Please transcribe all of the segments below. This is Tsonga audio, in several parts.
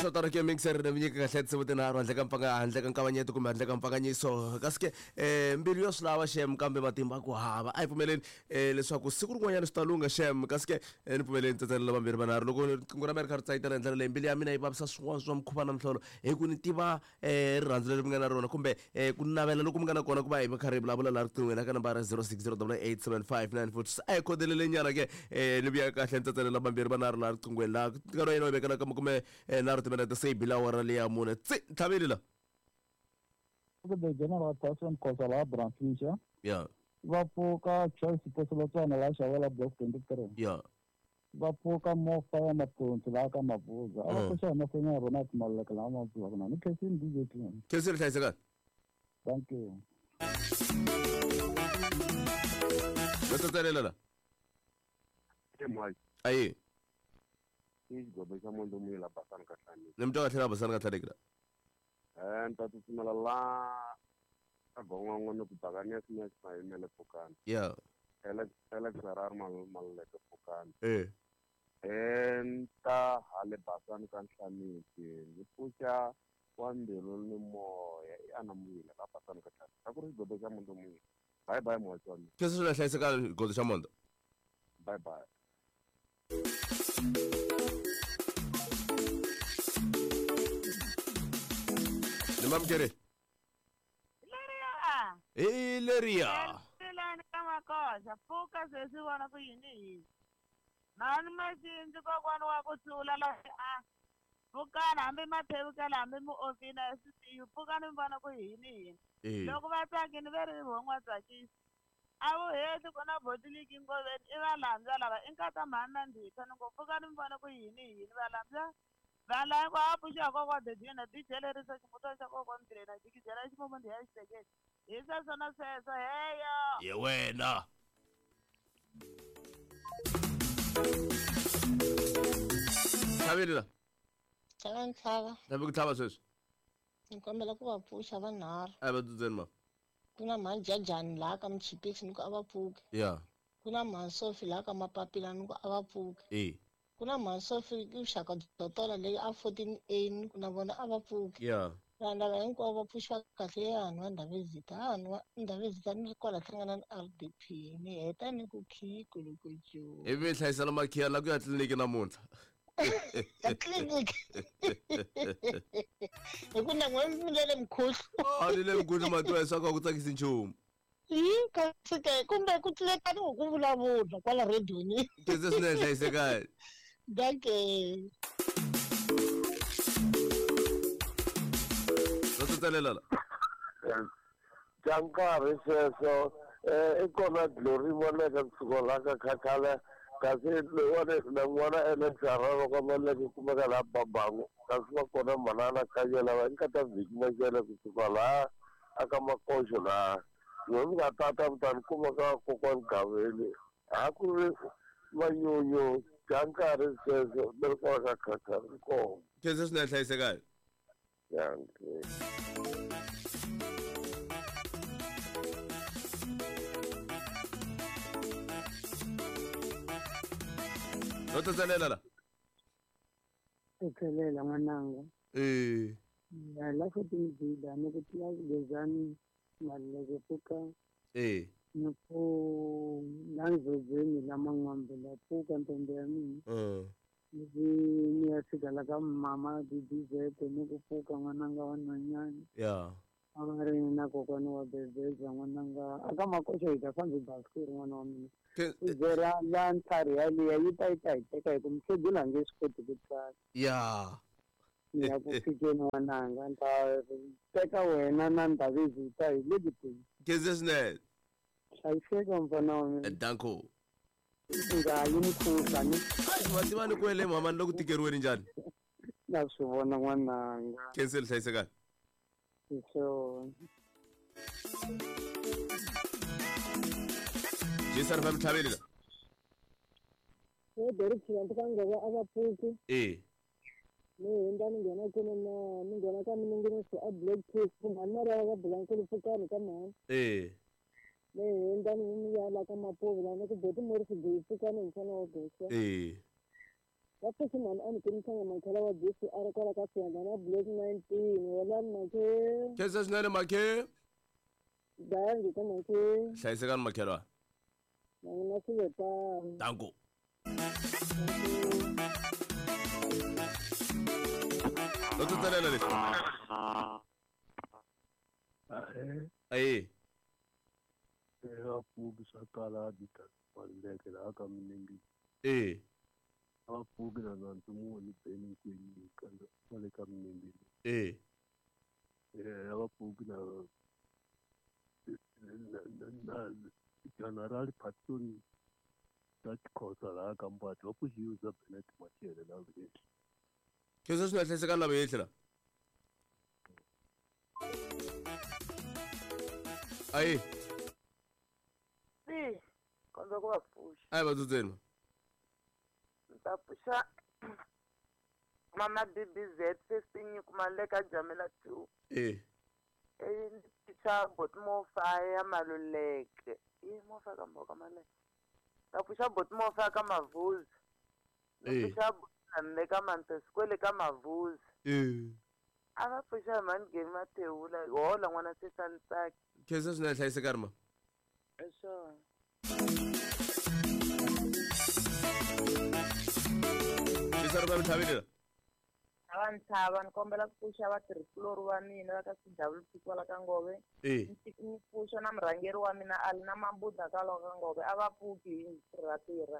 Swo tano ke mixer ni mi nyika kahle tinsimu tinharhu handle ka mpfanga handle ka nkavanyeto kumbe handle ka mpfanganyiso kasi ke mbilu yo swi lava xem kambe matimba ku hava a hi pfumeleni leswaku siku rin'wanyana swi ta lungha xem kasi ke ni pfumeleni tsatsalela vambirhi vanharhu loko riqingho ra mina ri kha ri tsayitela hi ndlela leyi mbilu ya mina yi vavisa swin'wana swa mukhuva na mihlolo hi ku ni tiva rirhandzu leri mi nga na rona kumbe ku navela loku mi nga na kona ku va hi va karhi hi vulavula laha riqinghweni eka nambara 0608875946 a hi khodelele nyana ke ni vuya kahle ni tsatsalela vambirhi vanharhu laha riqinghweni laha nkarhi wa yena wa vekela ka makume nharhu timinete se yi bile awara leya mune tsi ntlhaveli la The General Tyson Khosa laha Brandfisher ya va pfuka Choice Posolotswana laha Xavela Block 23 ya va pfuka Mofa ya Mathonsi laha ka Mabuza a va pfuxa hi mahlweni ya rona Maluleke laha Mabuza kuna ni khensini DJ Clean. Khensini hlayisekani. Thank you. No tsatsalela la. Ayi. I xigobe xa Mondo Muyila Basani ka Hlaneki. Ni mi twa kahle la Basani ka Hlaneki la. Ni ta tsutsumela la ka Gongongo ni ku Buccaneers Max Mayimele Pfukani. Yeah. Alex Alex Harare Maluleke Pfukani. Eh. Ni ta hale Basani ka Nhlaneki ni pfuxa wa mbilu ni moya i Ana Muyila la Basani ka Hlaneki. A ku ri xigobe xa Mondo Muyila. Bye bye muhaxi wa mina. Sweswo swi nga hlayiseka xigodo xa Mondo. Bye bye. Ni mamukeri. Leriya. Hi leriya. Tilani ka makoxa pfuka sweswi vona ku yini yini. Mhani Maxindzi kokwani wa ku hlula la a pfukani hambi mathevukela hambi muofina SCU pfukani mi vona ku yini yini. Loko va tsakini ve ri vo n'wa tsakisi. A wu heti ku na botiliki ngoveni i valambya lava i nkata mhani na ndhitha ni ngo pfukani mi vona ku yini yini valambya vanhu lava hinkwavo a pfuxiwa kokwa Dedina DJ lerisa ximutwana xa kokwa Mdirena jikijela ximumu ndhiya xitekeni hi sweswo na sweswo heyo Ye wena. Tlhaveli la. Tlhava ntlhava. Tlhavi ku tlhava sweswi. Ni kombela ku va pfuxa vanharhu. A va dzudzeni ma. Ku na mhani Jajani laha ka Muchipisi ni ku a va pfuki. Ya. Ku na mhani Sophie laha ka Mapapila ni ku a va pfuki. E. Ku na mhani Sophie i vuxaka byo tola leyi a 14A ni ku na vona a va pfuki. Ya. Vanhu lava hinkwavo va pfuxiwa kahle ya hanhu wa Ndhavezitha. Hanhu wa Ndhavezitha ni ri kwala hlangana na RDP ni heta ni ku khiyi kulukuju. Ivi mi hlayisela makhiya la ku ya tliliniki namuntlha. Tliliniki. Hi ku na n'we mi le mkhuhlu. A ni le mkhuhlu matiwa leswaku a ku tsakisi nchumu. Hi kasi ke kumbe ku tlulekani hi ku vulavula kwala rediweni. Khensa swinene hlayisekani. Dankie. No tsatsalela la. Bya nkarhi sweswo i kona Glory Maleka kusuka laha ka Khakhala kasi loyiwani na n'wana Alex Harare ka Maleka kumeka laha Babangu kasi va kona manana Khanya lava i nkata Vhiki Mashele kusuka laha aka Makoxo laha n'we mi nga tata mi ta ni kuma ka kokwani Gaveni ha ku ri manyunyu bya nkarhi sweswo ni ri kwala ka Khakhala ni kona. Khensa swinene hlayisekani. Dankie. No tsatsalela la. Tsetselela n'wananga. Eh. Ya la futhi ngidida ni ku tila gezani Maluleke pfuka. Eh. Ni ku la ndzobeni la Man'wambe la pfuka ntombi ya mina. Ni ni ya fika la ka mama DDZ ni ku pfuka n'wananga wa nhwanyana. Ya. A va ri na kokwana wa Bebeza n'wananga a ka Makoxa hi ta fambi basikiri n'wana wa mina. U byela la ntlhari yaliya yi ta yi ta hi teka hi ku mukhegula a nge swi koti ku tsala. Ya. Ni ya ku fikeni n'wananga ni ta teka wena na Ndhavezitha hi le ku teni. Khensa swinene. Hlayiseka mfana wa mina. Danko. Nga yi mukhuhla ni. Va tiva ni ku ele mama ni loko tikeriweni njhani? Na swi vona n'wananga. Khensa hlayisekani. Hi swona. Jason fa mtlhaveli la. Hey, Derek Chivantu ka ngova a va pfuki. Eh. Ni hundza ni nghena kwini na ni nghena ka miningiriso a Black Chief mhani Maria va bula nkulu pfukani ka mhani. Eh. Ni hundza ni ya la ka Mapuvu la ni ku boti Morris Gui pfukani hi mfana wa Gosa. Eh. Va pfuxi mhani a ni kumisanga makhala wa Jesu a ri kwala ka Siyanda na Black 19. Holani makhe. Khensa swinene makhe. Dangi ka makhe. Hlayisekani makhelwa. Na n'wina swi ve tano. Danko. Lo tsutselela leswi. Ayi. Eka pfuki swa kala dita maluleke laha ka Minengi. Eh. A pfuki na nandzu muni beni kwini ka le ka Minengi. Eh. Eh, a va pfuki na na General Patson ta Xhosa laha ka Mbati va pfuxiwe bya Bennett Machele la vheli. Khensa swinene hlayisekani lava yehla la. Ayi. Si, kondza ku va pfuxa. Ayi va dzudzeni. Ni ta pfuxa mama BBZ 15 Maleka Jamela 2. Eh. Eh, ni pfuxa Botmofa ya Maluleke. I mofa ka mboka Maluleke. Ta pfuxa Botmofa ka Mavuzi. Ni pfuxa Botnamle ka Manteskwele ka Mavuzi. Eh. A va pfuxa mhani Gemi Mathewula hola n'wana Sesani Tsaki. Khensa swinene hlayisekani ma. Hi swona. Xisa ri va mi la. A va ntshava ni kombela ku pfuxa vatirhikulori va mina va ka CWP kwala ka Ngove. Eh. Ni pfuxa na murhangeri wa mina a li na Mabuda kwala ka Ngove. A va pfuki hi tirha tirha.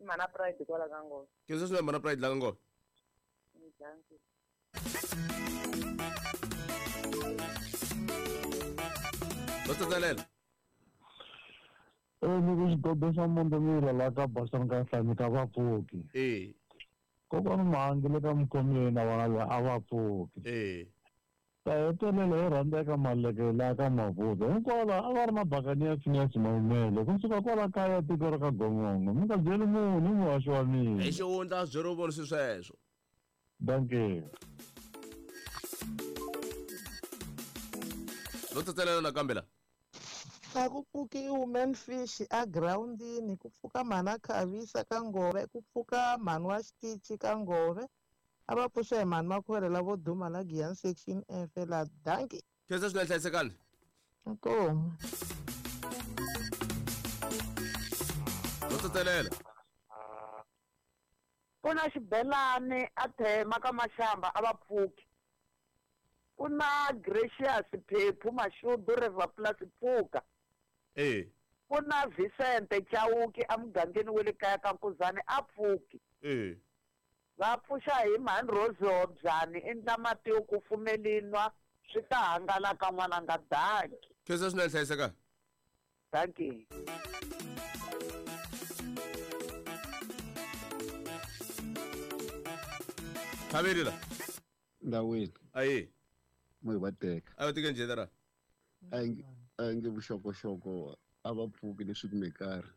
I mhana Pride kwala ka Ngove. Khensa swinene mhana Pride la ka Ngove. Dankie. Lo tsutselela. Ni ku xidodo xa Mondemila laha ka Basani ka Nhlami ka va pfuki. Eh. Kokwani Mahangi le ka Mkhomeni na vona la a va pfuki. Eh. Ta hetelela hi rhandzeka Maluleke laha ka Mavuza. Hinkwavo a va ri mabakani ya Phineas Maumele. Kusuka kwala kaya tiko ra ka Gongongo. Mi nga byeli munhu i muhaxi wa mina. Hi xihundla swi byeriwe vona swi sweswo. Dankie. Lo tsutselela nakambe la. A ku pfuki woman fish a groundini, ku pfuka mhana Khavisa ka Ngove, ku pfuka mhani wa Xitichi ka Ngove. A va pfuxa hi mhani Makhwere lavo duma la Giyani section F la. Dankie. Khensa swinene hlayisekani. Inkomu. Lo tsutselela. Ku na xibelani a thema ka Mashamba a va pfuki. Ku na Gracious Phephu Mashudu River Plus pfuka. Eh. Ku na Vicente Chauki emugangeni wa le kaya ka Nkuzani a pfuki. Eh. Va pfuxa hi mhani Rose Hobyani endla mati yo kufumelinwa swi ta hangalaka n'wananga. Dankie. Khensa swinene hlayisekani. Dankie. Khaveli la. Ndawini. Ayi. Mo hi va teka. A va teke njhani ra? A nge vuxokoxoko a va pfuki leswi kumekari.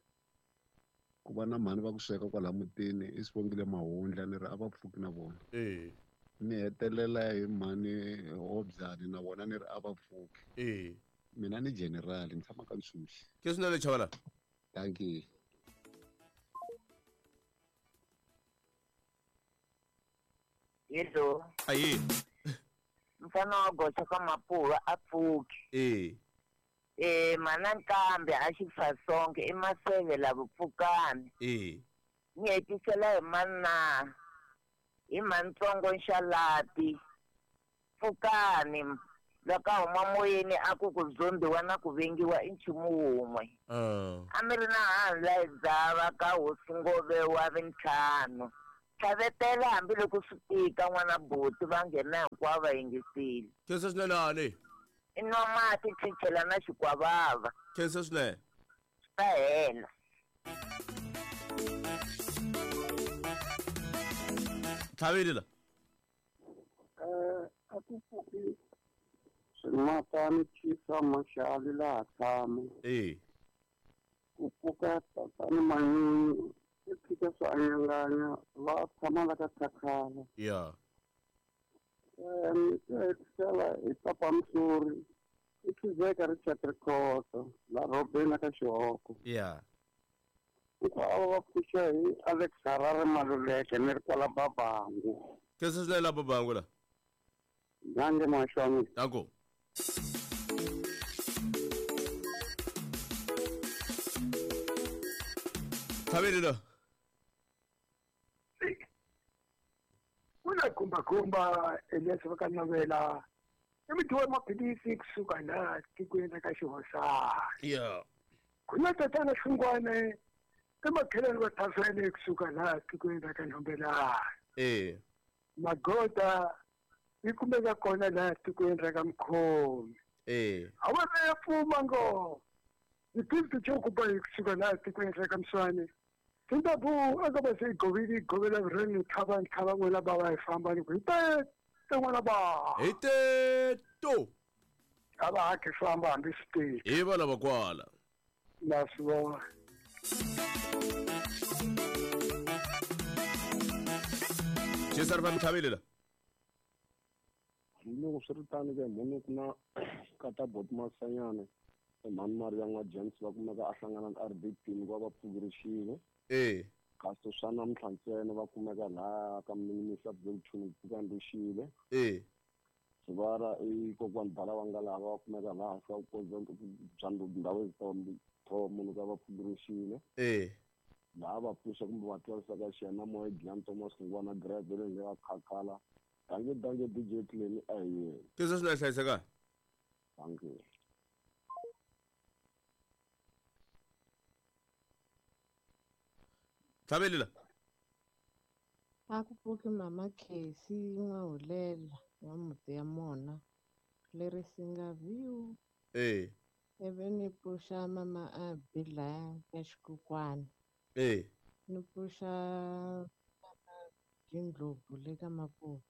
Ku va na mhani va ku sweka kwala mutini i Sibongile Mahundla ni ri a va pfuki na vona. Eh. Ni hetelela hi mhani Hobyani na vona ni ri a va pfuki. Eh. Mina ni general ni tshama ka Ntshuxi. Ke swinene Chavala. Dankie. Hello. Ayi. Mfana wa goxa ka Mapuva a pfuki. Eh. Eh, mana Nkambe a xi fa sonke i Maseve lavo pfukani. Eh. Ni hetisela hi mana hi Mantsongo Nxalati. Pfukani loko a huma moyeni a ku ku zombiwa na ku vengiwa i nchumu wun'we. A mi ri na handla hi dzava ka hosi Ngove wa vintlhanu. Tlhavetela hambiloko swi tika n'wana buti va nghena hinkwavo va yingisile. Khensa swinene hani. I nwa mati chichela na xikwavava. Khensa swinene. Swi ta hela. Tlhaveli la. A ku pfuki swimatani chisa maxali laha tshama. Eh. Ku pfuka tatani Manyunyu i tshika swi anyanganya va tshama la ka Khakhala. Yeah. Ni hetisela hi Papa Msuri i Khizeka Richard Rikhoto la Robeni ka Xihoko. Yeah. Hinkwavo va pfuxa hi Alex Harare Maluleke ni ri kwala Babangu. Khensa swinene la Babangu la. Dankie muhaxi wa mina. Danko. Tlhaveli la. Ku na gumbagumba Elias va ka Navela i mudyi wa maphilisi kusuka laha tikweni ra ka Xihosana. Yeah. Ku na tatana Hlungwane i makhelwani wa Thavene kusuka laha tikweni ra ka Nhombelani. Eh. Magoda yi kumeka kona laha tikweni ra ka Mkhomi. Eh. A va ya pfuma ngo. Ni tivi ti kuba yi kusuka laha tikweni ra ka Mswane. Tintabu aka va se govili govela vureni thava ntlhava n'wina bava hi famba ni ku hi te te n'wana ba. Hi te to. A va ha khi famba hambi swi tiki. Hi va lava kwala. Na swi vona. Jesu ri va mithavile la. Loko swi ri tano ke mhani ku na kata bot Masanyana mhani Maria n'wa James va kumeka a hlangana na RDP ni va va pfukerixile. Eh. Kasi swa namuntlha ntsena va kumeka laha ka minimisa Bluetooth pfuka nduxile. Eh. Sivara i kokwani bala wa nga lava va kumeka laha swa bya ndhawu tho munhu ka va pfukerixile. Eh. Laha va pfuxa kumbe va twarisa ka xiyana moya Giyani Thomas Ngwana Grave leyi nga khakhala. Dankie dankie DJ Clem a hi yena. Khensa swinene hlayiseka. Dankie. Tlhaveli la. A ku pfuki mama Casey N'wahulela wa muti ya mona leri singa view. Eh. Ivi ni pfuxa mama Abi laya ka xikukwana. Eh. Ni pfuxa mama Jindlovu le ka Mapuva.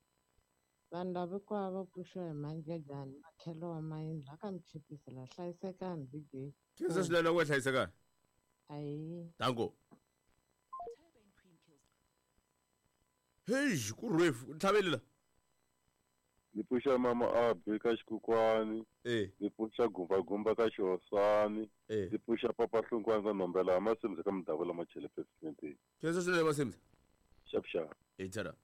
Vanhu lava hinkwavo va pfuxiwa hi manjejani makhelo wa mayindlu a ka mi chipisi la hlayisekani DJ. Khensa swinene ku hlayisekani. Ayi. Danko. Hey, ku rhefu tlhaveli la. Ni pfuxa mama Abi ka xikukwani. Eh. Ni pfuxa gumbagumba ka xihosani. Eh. Ni pfuxa papa Hlungwane ka Nhombela Masimza ka Mudavula Machele President. Khensa swinene Masimza. Xap xap. Hi tshara.